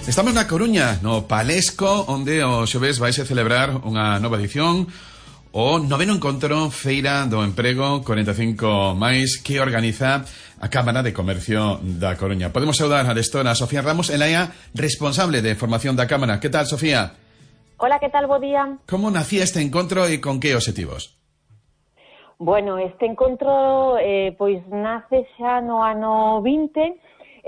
Estamos na Coruña, no Palesco, onde o xoves vais a celebrar unha nova edición, o noveno encontro Feira do Emprego 45 máis, que organiza a Cámara de Comercio da Coruña. Podemos saudar a destora Sofía Ramos, ela é a responsable de formación da Cámara. Que tal, Sofía? Hola, que tal, bo día? Como nacía este encontro e con que obxectivos? Bueno, este encontro pois nace xa no ano 24,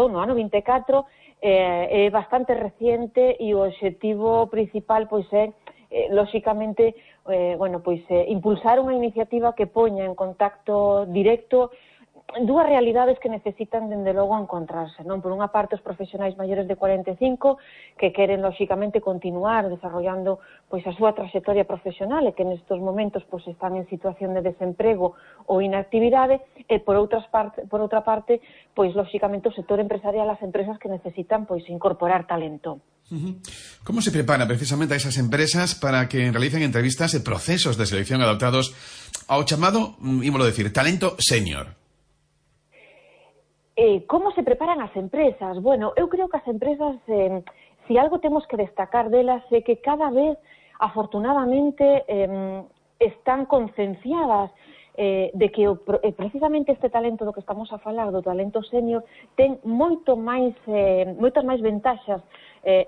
no ano 24, é bastante reciente e o obxectivo principal pois é lóxicamente impulsar unha iniciativa que poña en contacto directo dúas realidades que necesitan, dende logo, encontrarse, non? Por unha parte, os profesionais maiores de 45 que queren, lóxicamente, continuar desarrollando pois a súa traxectoria profesional e que nestes momentos pois están en situación de desemprego ou inactividade, e por outra parte, pois lóxicamente o sector empresarial, as empresas que necesitan pois incorporar talento. Como se prepara precisamente a esas empresas para que realicen entrevistas e procesos de selección adaptados ao chamado, ímolo decir, talento senior? Como se preparan as empresas? Bueno, eu creo que as empresas, si algo temos que destacar delas, é que cada vez, afortunadamente, están concienciadas de que precisamente este talento do que estamos a falar, do talento senior, ten moitas máis ventaxas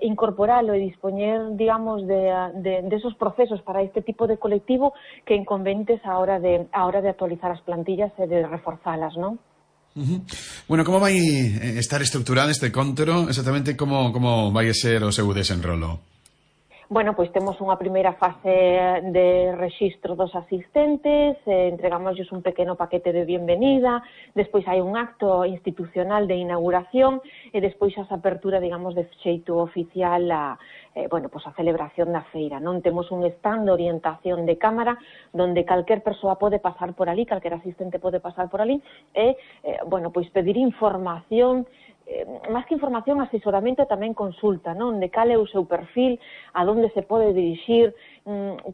incorporalo e dispoñer, digamos, de esos procesos para este tipo de colectivo que inconvenientes a hora de actualizar as plantillas e de reforzalas, non? Bueno, como vai estar estructurado este encontro? Exactamente como vai ser o seu desenrolo? Bueno, pois temos unha primeira fase de rexistro dos asistentes, entregámosles un pequeno paquete de bienvenida, despois hai un acto institucional de inauguración e despois a apertura, digamos, de xeito oficial a celebración da feira, non? Temos un stand de orientación de cámara donde calquer persoa pode pasar por ali, calquer asistente pode pasar por ali e, pedir información, máis que información, asesoramento e tamén consulta, non? De cal é o seu perfil, a donde se pode dirixir,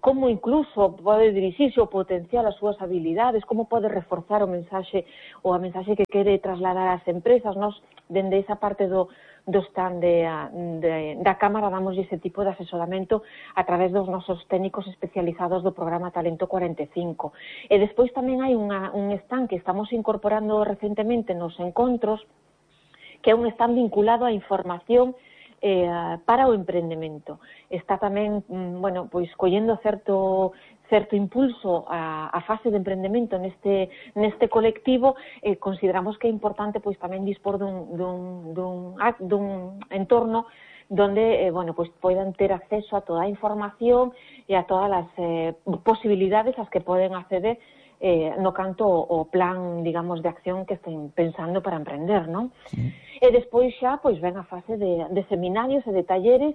como incluso pode dirixirse ou potenciar as súas habilidades, como pode reforzar a mensaxe que quere trasladar ás empresas. Nos, dende esa parte do stand da Cámara, damos ese tipo de asesoramento a través dos nosos técnicos especializados do programa Talento 45. E despois tamén hai un stand que estamos incorporando recentemente nos encontros, que é un stand vinculado á información para o emprendemento. Está tamén, collendo certo impulso a fase de emprendemento neste colectivo. Consideramos que é importante pois tamén dispor dun entorno donde poidan ter acceso a toda a información e a todas as posibilidades ás que poden acceder no canto o plan, digamos, de acción que estén pensando para emprender, non? Sí. E despois xa, pois, ven a fase de seminarios e de talleres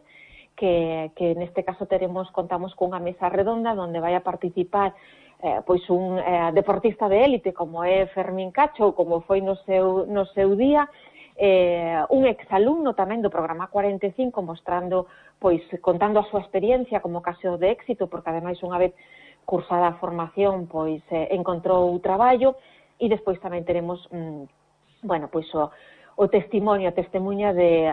que neste caso contamos cunha mesa redonda onde vai a participar un deportista de élite como é Fermín Cacho, ou como foi no seu día, un exalumno tamén do programa 45 mostrando, contando a súa experiencia como caso de éxito, porque ademais unha vez cursada a formación, encontrou traballo, e despois tamén teremos, o testemunha de